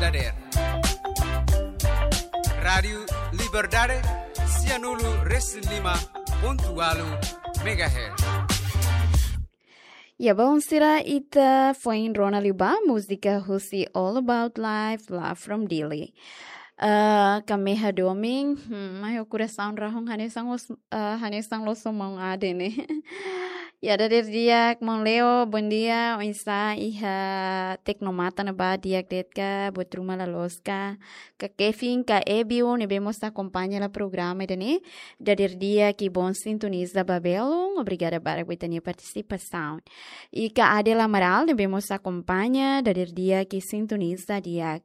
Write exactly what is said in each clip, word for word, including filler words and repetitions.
Dader. Rádiu Liberdade, sianulu resin lima pontu ualu megahertz. Ya, bom, sira, ita foin rona liu ba múzika husi All About Life, Love from Dili. Ah, kami hadomi, hmm, mai ho korasaun rahun hanesan os, ah, hanesan loos ho maun Ade ne'e. Ya, dader di'ak, maun Leo, bondia, oinsá iha Tecnomata ne'ebá, di'ak de'it ka, buat ruma la loos ka, ka Kevin, ka Ebiu, ne'ebé mós akompaña hela programa ida-ne'e, dader di'ak i bom sintoniza ba belun, obrigada barak ba ita-nia partisipasaun. I ka Adel Amaral, ne'ebé mós akompaña, dader di'ak i sintoniza di'ak.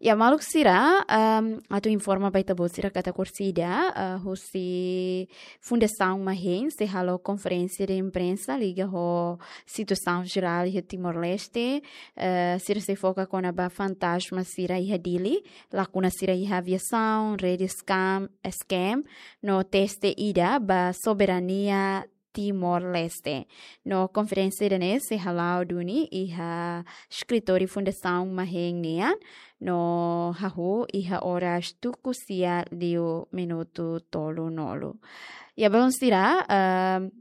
Ya, maluk sira, ehm, atu informa ba ita-boot sira katak orsida, eh, husi Fundasaun Mahen sei halo konferénsia de imprensa liga ho situasaun jerál iha Timor-Leste, eh, sira sei foka kona-ba fantasma sira iha Dili, lakuna sira iha aviasaun, rede scam, scam, no teste ida ba soberania Timor-Leste. No konferénsia ida-ne'e sei hala'o duni iha eskritóriu Fundasaun Mahen nian, no hahú iha oras tuku sia liu minutu tolunulu. Ya, bom, sira, ehm,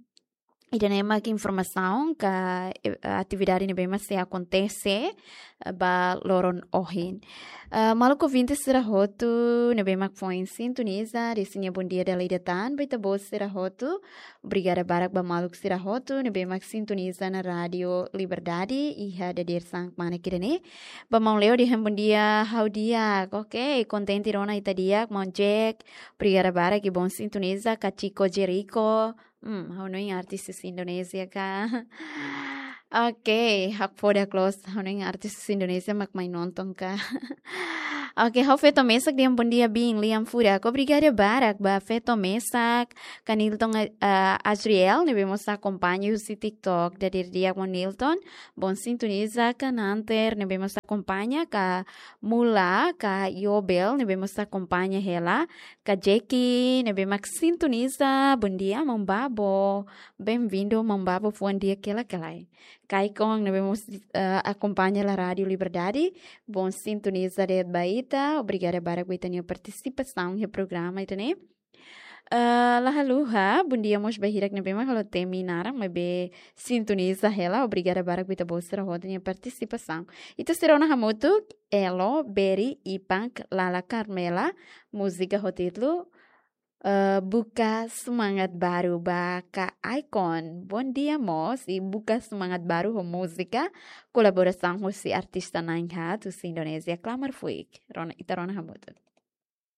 ida-ne'e mak informasaun ka, eh, atividade ne'ebé mak sei akontese, eh, ba loron ohin. Eh, maluk ouvinte sira hotu ne'ebé mak foin sintoniza, dezeja bondia dala ida tan ba ita-boot sira hotu. Obrigada barak ba maluk sira hotu ne'ebé mak sintoniza ona Rádiu Liberdade iha dadeer-saan kmanek ida-ne'e. Ba maun Leo dehan bondia, ha'u di'ak. Oke, kontente rona ita di'ak, maun Jack. Obrigada barak i bom sintoniza, ka Chico Jericho. Hmm, ha'u hanoin artis husi Indonézia ka. Oke, hakfodak loos, ha'u hanoin artis husi Indonézia mak mai nonton ka. Oke, ha'u feto mesak dehan bondia, biin lian furak. Obrigada barak ba feto mesak, ka Nilton, eh, Azriel, ne'ebé mós akompaña husi TikTok. Dader di'ak maun Nilton, bom sintoniza, ka Nanter, ne'ebé mós akompaña, ka Mula, ka Yobel, ne'ebé mós akompaña hela, ka Jackie, ne'ebé mak sintoniza, bondia maun Babo, bem-vindo maun Babo, fuan di'ak hela ka lae. Ka Icon, ne'ebé mós, eh, akompaña hela Rádiu Liberdade, bom sintoniza de'it ba ita, obrigada barak ba ita-nia partisipasaun iha programa ida-ne'e. Eh, la haluha, bondia mós ba hirak ne'ebé mak halo temi naran, maibé sintoniza hela, obrigada barak ba ita-boot sira hotu nia partisipasaun. Ita sei rona hamutuk, Elo, Beri, Ipank, Lala Carmela, múzika ho títulu, eh, Buka Semangat Baru ba ka Icon. Bondia mós, i buka semangat baru ho múzika, kolaborasaun husi artista na'in-haat husi Indonézia, Klamar Fuik. Rona, ita rona hamutuk.